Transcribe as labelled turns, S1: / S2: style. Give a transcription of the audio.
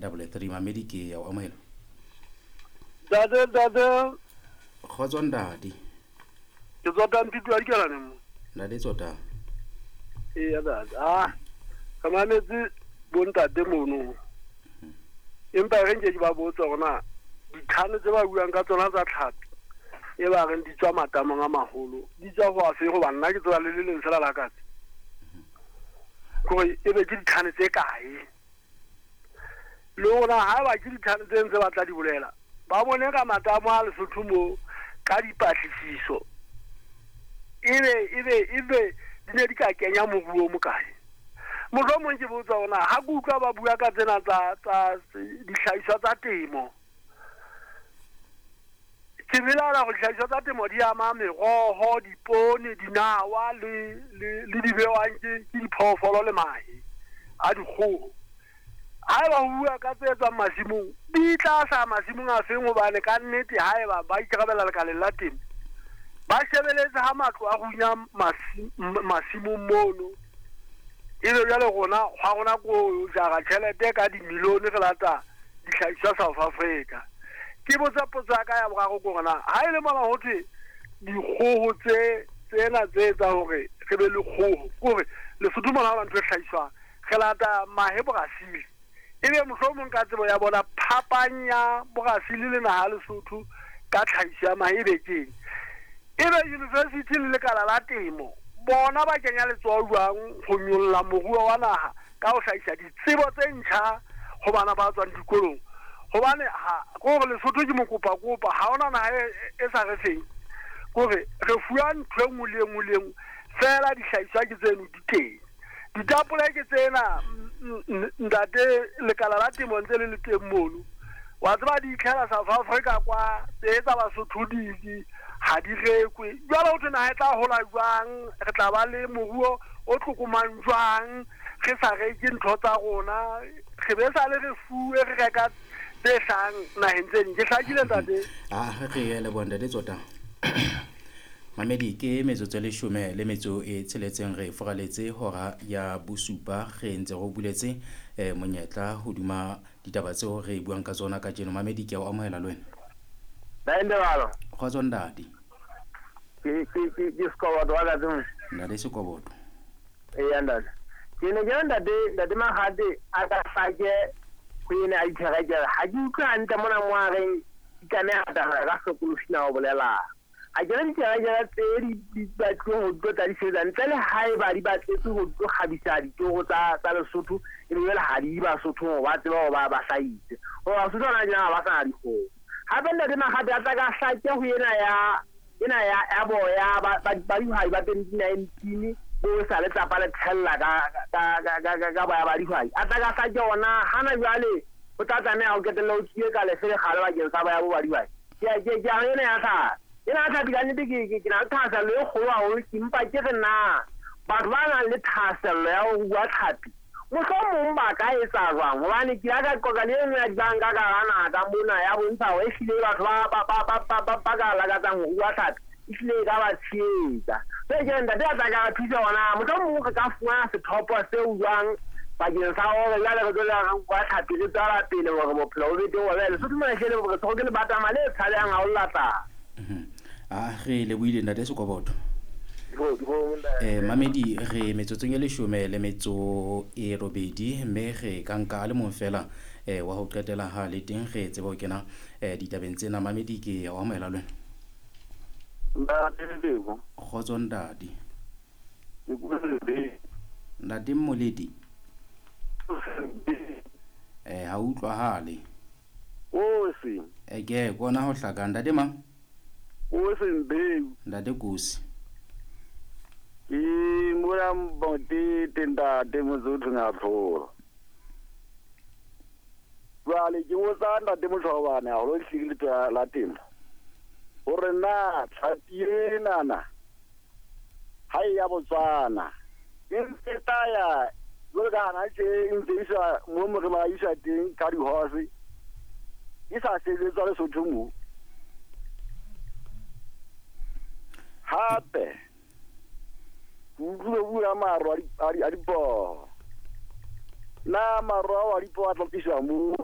S1: 33. Mamedi, ke ya o amohela.
S2: Ntate, ntate.
S1: Kgotso, ntate.
S2: Ke tsota Mpito wa Dikelane mo.
S1: Ntate tsota.
S2: Eya, ntate. Ah, re mametse bontate mono. Empa re nke ke ba botsa hore na dithane tse ba buang ka tsona tsa tlhapi e ba reng di tswa matamong a maholo di tswa ho afe, hoba nna ke tseba le le leng fela la katse. Kore e be ke dithane tse kae? Le hore na haeba ke dithane tse ntse ba tla di bolela, ba bone ka matamo a Lesotho mo ka dipatlisiso ebe di ne di ka kenya moruo o mokae. Mohlomong ke botsa hore na ha ke utlwa ba bua ka tsena tsa dihlahiswa tsa temo, ke belaela hore dihlahiswa tsa temo di ama meroho, dipoone, dinawa le di bewang ke diphoofolo le mahe a dikgoho. Haeba ho bua ka tse tswang masimong, di tla hlaha masimong a feng? Hobane ka nnete haeba ba ikarabella lekaleng la temo, ba shebeletse ha matlo a runya masimong mono. Ebe jwale rona hwa rona ko jara tjhelete ka dimilione re lata dihlahiswa South Africa. Ke botsa potso ya ka ya boraro ke hore na ha e le mona ho thwe dikgoho tse tsena tse etsang hore re be le kgoho, ke hore Lesotho mona ha hona ntho e hlahiswang, re lata mahe Brazil. Ebe mohlomong ka tsebo ya bona phapang ya Brazil le naha ya Lesotho ka tlhahiso ya mahe ebe keng? Ebe university le lekala la temo bona ba kenya letsoho jwang ho nyolla moruo wa naha ka ho hlahisa ditsebo tse ntjha ho bana ba tswang dikolong? Hobane ha ke hore Lesotho ke mokopa-kopa, ha hona naha e sa re feng. Ke hore re fuwa ntho e nngwe le e nngwe le e nngwe, feela dihlahiswa ke tseno di teng. Ditapole ke tsena, ntate, lekala la temo ntse le le teng mono. Wa tseba di itlhela South Africa kwa, tse tsa Basotho di ha di rekwe. Jwale ho thwe naha e tla hola jwang? Re tla ba le moruo o tlokomang jwang? Re sa reke ntho tsa rona, re be sa le re fuwe re reka tse hlahang naheng tse ding. Ke hlakile, ntate?
S1: Ah, re leboha, ntate Tsota. Mamedi, ke metsotso e leshome le metso e tsheletseng re foraletse hora ya bosupa, re ntse re o buletse monyetla hodima ditaba tseo re buang ka tsona kajeno. Mamedi, ke a o amohela le wena.
S3: Ntate.
S1: Kgotso, ntate.
S3: Ke Sekoboto wa Katse mo.
S1: Ntate Sekoboto.
S3: Eya, ntate. Ke ne ke re ntate Makgate a ka hlake ho ena a diterekere. Ha ke utlwe hantle mona mo a reng di tlameha ho tsamaya ka hlokolosi na o bolelang. Ha ke re diterekere tse di batluweng ho tlo tla di sebetsa ntle le haeba di batletswe ho tlo kgabisa ditoro tsa Lesotho, ebe jwale ha di Basothong hore ba tsebe hore ba hlahise. Hore Basotho hona tjena ha ba sa na dikgomo. Hape ntate Makgate a tla ka hlake ho ena ya ena ya boya ba dihwai ba 2019 bo sa le tlapa le thella ka boya ba dihwai. A tla ka hlake ona hana jwale ho tla tlameha ho qetelle ho tswile ka lefe le kgale bakeng sa boya bo ba dihwai. Ke a ena ya tlhapi. Ena ya tlhapi ka nnete ke na le thahasello e kgolo haholo, ke mpa ke re na batho ba nang le thahasello ya ho rua tlhapi mohlomong ba ka etsa jwang? Hobane ke ile ka qoqa le e nngwe ya dibanka ka hara naha ka mona ya bontsha hore ehlile batho ba ka lakatsang ho rua tlhapi ehlile e ka ba tshehetsa. Jwale ke re ntate a tla ka re thusa hore na mohlomong re ka fumana sethopo seo jwang bakeng sa hore jwale re tlo re rua tlhapi re tswela pele hore bophelo bo be teng. Hobane Lesotho mona ehlile re tshwerwe ke lebatama le tshabehang haholo la tlala.
S1: Ah, re lebohile, ntate Sekoboto. Mamedi, re metsotsong e leshome le metso e robedi, mme re ka nka a le mong fela wa ho qetela ha le teng re tsebe ho kena ditabeng tsena. Mamedi, ke o amohela le wena.
S4: Ntate Lebo.
S1: Kgotso, ntate.
S4: Ke bua le
S1: Ntate Mmoledi. Ha utlwahale.
S4: Kosi.
S1: Ke kona ho hlaka, ntate mang?
S4: Kosi Mbeu.
S1: Ntate Kosi.
S4: Ke mona Motete, ntate Mosotho Ngatlholo. Jwale ke botsa ntate Moshobane haholo ehlile letona la temo hore na tlhapi enana ha e ya Botswana e ntse tla ya jwalo ka hana tje e ntse isa mo mo re ba isa teng ka di-horse e sa sebetswa Lesotho mo. Hape ke utlwile bua maro a dipoho. Na maro ao a dipoho a tla tliswa mo?